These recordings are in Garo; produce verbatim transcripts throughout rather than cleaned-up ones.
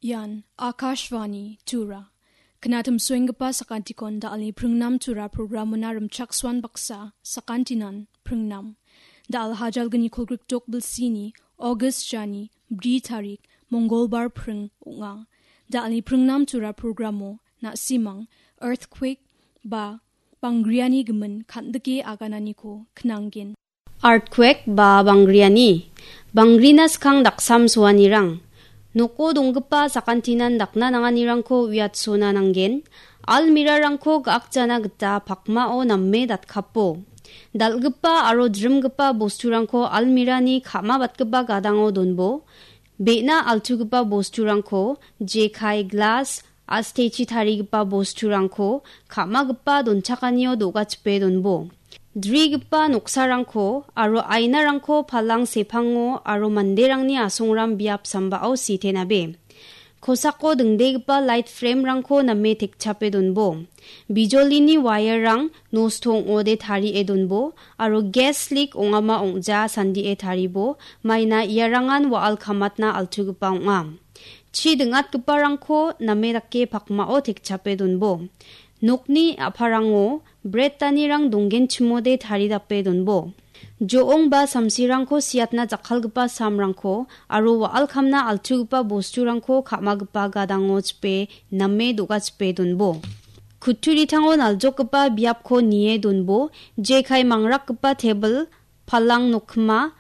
Ian Akashvani Tura. Knatim suenggipa sakantikon da·alni pringnam Tura programona rimchaksoan baksa sakantinan pringnam. Da·al hajalgni kolgrikdok bilsini August jani bri tarik Mongolbar pring ong·a. Da·alni pringnam Tura programo na·simang earthquake ba bangriani gimin kan·dike agananiko knanggen. Earthquake ba bangriani. Bangrina skang daksam soanirang. Noko donggipa sakantinan dakna nanganirangko uiatsona nanggen. Almirarangko ga·akjana gita pakmao name datkapo. Dal·gipa aro drimgipa bosturangko almirani ka·mabatgipa gadango donbo. Be·na altugipa bosturangko jekai, glas, astechi tarigipa bosturangko ka·magipa donchakanio do·gachipe donbo. Drigipa noksarangko aro ainarangko palang sepango aro manderangni asongram biap sambao sitenabe. Kosako dingdegipa light frame-rangko name tekchape donbo. Bijolini wire-rang nosto ong·ode tarie donbo aro gas leak ong·ama ong·ja sandie taribo, maina iarangan wa·al kamatna altugipa ong·a. Chi ding·atgiparangko name dake pakmao tekchape donbo. Nokni a·parango brettanirang donggenchimode taridape donbo. Jo·ong ba samsirangko siatna jakkalgipa samrangko aro wa·al kamna altugipa bosturangko ka·magipa gadango chipe name do·gachipe donbo. Kutturitango naljokgipa biapko nie donbo, jekai mangrakgipa tebil, palang nokma,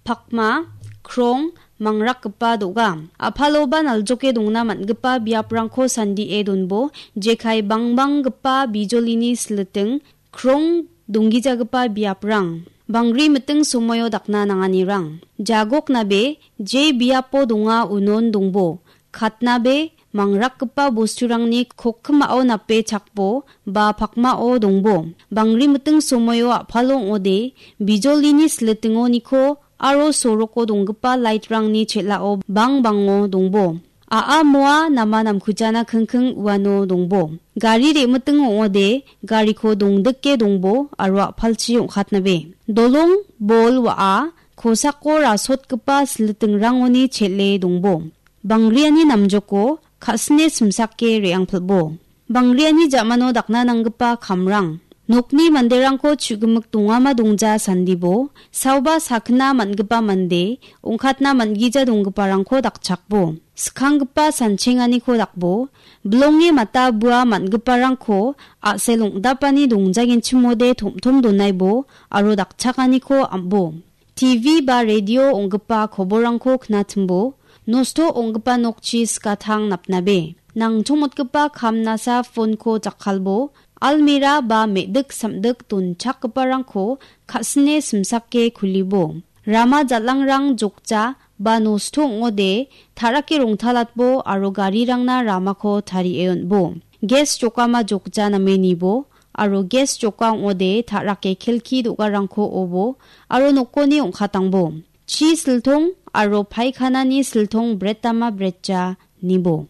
pakma, krong, mangrakgipa do·ga. A·paloba naljoke dongna man·gipa biaprangko sandie donbo, jekai bangbanggipa bijolini siliting, krong donggijagipa biaprang. Bangri miting somoio dakna nanganirang. Jagoknabe je biapo donga unon dongbo. Katnabe mangrakgipa bosturangni kokkimao nape chakbo ba pakmao dongbo. Bangri miting somoio a·palo ong·ode bijolini silitingoniko aro soroko donggipa light-rangni chel·ao bang bango dongbo. A·a moa nama namkujana kingking uano dongbo. Gari re·miting ong·ode gariko dongdike dongbo aro a·palchi ong·katnabe. Dolong, bol, wa·a, kosako rasotgipa silitingrangoni chel·e dongbo. Bangriani namjoko ka·sine simsake re·angpilbo. Bangriani ja·mano dakna nanggipa kamrang. Nokni manderangko chu·gimik dongama dongja sandibo, saoba sakna man·gipa mande, ong·katna man·gija donggiparangko dakchakbo. Skanggipa sanchenganiko dakbo, bilonge mata bua man·giparangko a·sel ong·dapani dongjagenchimode tom·tom donaibo aro dakchakaniko am·bo. T V ba radio ong·gipa koborrangko knatimbo, nosto ong·gipa nokchi skatang napnabe. Nangchongmotgipa kamnasa phone-ko jakkalbo, almira ba me·dik samdik donchakgiparangko ka·sine simsake kulibo. Rama jal·angrang jokja ba nosto ong·ode, ta·rake rongtalatbo aro garirangna ramako tarie on·bo. Gas jokama jokja name nibo, aro gas joka ong·ode ta·rake kelki do·garangko obo aro nokoni ong·katangbo. Chi siltong aro paikhanani siltong bretama bretja nibo.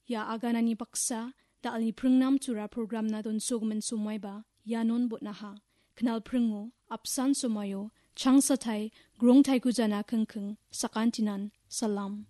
Ia aganani baksa, da·alni pringnam tura programna donsogimin somaiba ianon botnaha. Knal pringo, apsan somaio, changsatai, grongtaiko jana kingking, sakantinan, salam.